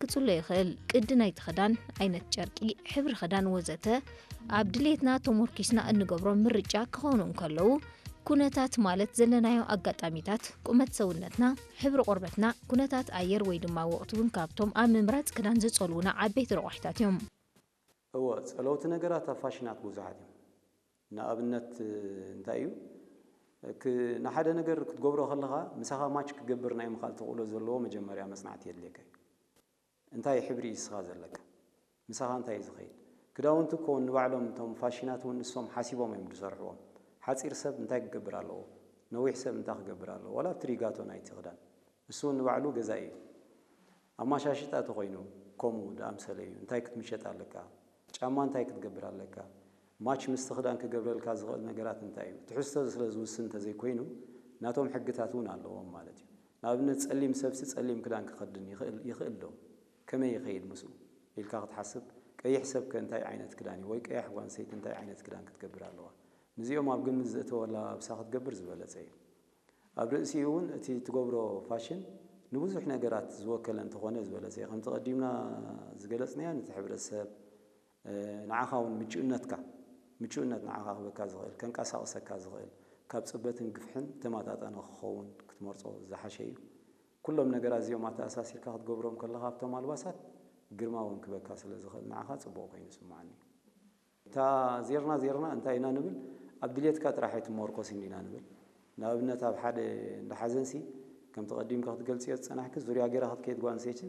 ክገልጽሎ ይኽእል። ቅዲ ናይቲ ክዳን፣ ዓይነት ጨርቂ፣ ሕብሪ ክዳን ወዘተ ኣብ ድሌትና ተሞርኪስና እንገብሮም ምርጫ ክኾኑ እንከለዉ፣ ኩነታት ማለት ዘለናዮ ኣጋጣሚታት፣ ቁመት ሰውነትና፣ ሕብሪ ቆርበትና፣ ኩነታት ኣየር ወይ ድማ ወቕቲ እውን ካብቶም ኣብ ምምራጽ ክዳን ዝጸልዉና ዓበይቲ ረቋሒታት እዮም። እወ፣ ጸለውቲ ነገራት ኣብ ፋሽናት ብዙሓት እዮም። ንኣብነት እንታይ እዩ፣ ክ- ንሓደ ነገር ክትገብሮ ከለኻ ምሳኻ ማች ክገብር ናይ ምኽኣል ተኽእሎ ዘለዎ መጀመርያ መጽናዕቲ የድልየካ እዩ። እንታይ ሕብሪ እዩ ንስኻ ዘለካ? ምሳኻ እንታይ እዩ ዝኸይድ? ክዳውንቲ እኮ ንባዕሎም እቶም ፋሽናት እውን ንሶም ሓሲቦም እዮም ዝሰርሕዎም። ሓፂር ሰብ እንታይ ክገብር ኣለዎ? ነዊሕ ሰብ እንታይ ክገብር ኣለዎ? ዋላ ኣብቲ ሪጋቶ ናይቲ ክዳን ንሱ እውን ንባዕሉ ገዛኢ እዩ። ኣማሻሽጣ ተኾይኑ ከምኡ ድኣምሰለ እዩ። እንታይ ክትምሸጥ ኣለካ? ጫማ እንታይ ክትገብር ኣለካ? ማች ምስቲ ክዳን ክገብረልካ ዝኽእል ነገራት እንታይ እዩ? ትሕዝቶ ስለ ዝውስን እንተዘይኮይኑ ናቶም ሕግታት እውን ኣለዎም ማለት እዩ። ንኣብነት ጸሊም ሰብሲ ጸሊም ክዳን ክኸድን ይኽእል ይኽእል ዶ? ከመይ ይኸይድ ምስኡ ኢልካ ክትሓስብ፣ ቀይሕ ሰብከ እንታይ ዓይነት ክዳን እዩ ወይ ቀያሕ ጓል ኣንስተይቲ እንታይ ዓይነት ክዳን ክትገብር ኣለዋ? ነዚኦም ኣብ ግምት ዘእተወላ ለባብሳ ክትገብር ዝበለጸ እዩ። ኣብ ርእሲኡ እውን እቲ ትገብሮ ፋሽን ንብዙሕ ነገራት ዝወከለ እንተኾነ ዝበለጸ እዩ። ከምቲ ቀዲምና ዝገለጽናዮ ነቲ ሕብረተሰብ ንዓኻ እውን ምቹእነትካ ምቹእነት ንዓኻ ክበካ ዝኽእል ከንቀሳቕሰካ ዝኽእል ካብ ጽበትን ግፍሕን ተመጣጣኒ ክኸውን ክትመርጾ ዝሓሸ እዩ። ኩሎም ነገራት እዚኦም ኣተኣሳሲርካ ክትገብሮም ከለኻ ኣብቶም ኣልባሳት ግርማ እውን ክበካ ስለ ዝኽእል ንዓኻ ጽቡቕ ኮይኑ ይስምዓኒ። እታ ዜርና ዜርና እንታይ ኢና ንብል? ኣብ ድሌትካ ጥራሕ ኣይትመርኮስን ኢና ንብል። ንኣብነት ኣብ ሓደ እንዳ ሓዘንሲ ከምቲ ቀዲምካ ክትገልጽዮ ዝጸናሕኪ ዙርያ ገይራ ክትከይድ ጓል ኣንስተይቲ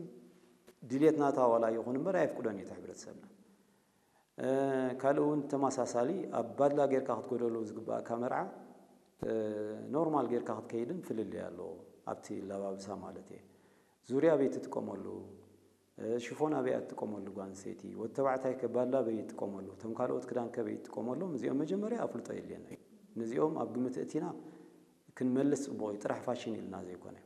ድሌት ናታ ዋላ ይኹን እምበር ኣየፍቅዶን እዩ እቲ ሕብረተሰብና። ካልእ እውን ተመሳሳሊ ኣብ ባድላ ጌርካ ክትጎደሉ ዝግባእካ መርዓ ኖርማል ጌርካ ክትከይድን ፍልልይ ኣለዎ ኣብቲ ለባብሳ ማለት እየ። ዙርያ ኣበይ ትጥቀመሉ፣ ሽፎን ኣበይ ትጥቀመሉ ጓል ኣንስተይቲ፣ ወዲ ተባዕታይ ከ ባድላ ኣበይ ይጥቀመሉ፣ እቶም ካልኦት ክዳን ከ ኣበይ ይጥቀመሎም፣ እዚኦም መጀመርያ ኣፍልጦ የድልየና እዩ። ነዚኦም ኣብ ግምት እቲና ክንመልስ ጽቡቕ እዩ፣ ጥራሕ ፋሽን ኢልና ዘይኮነ።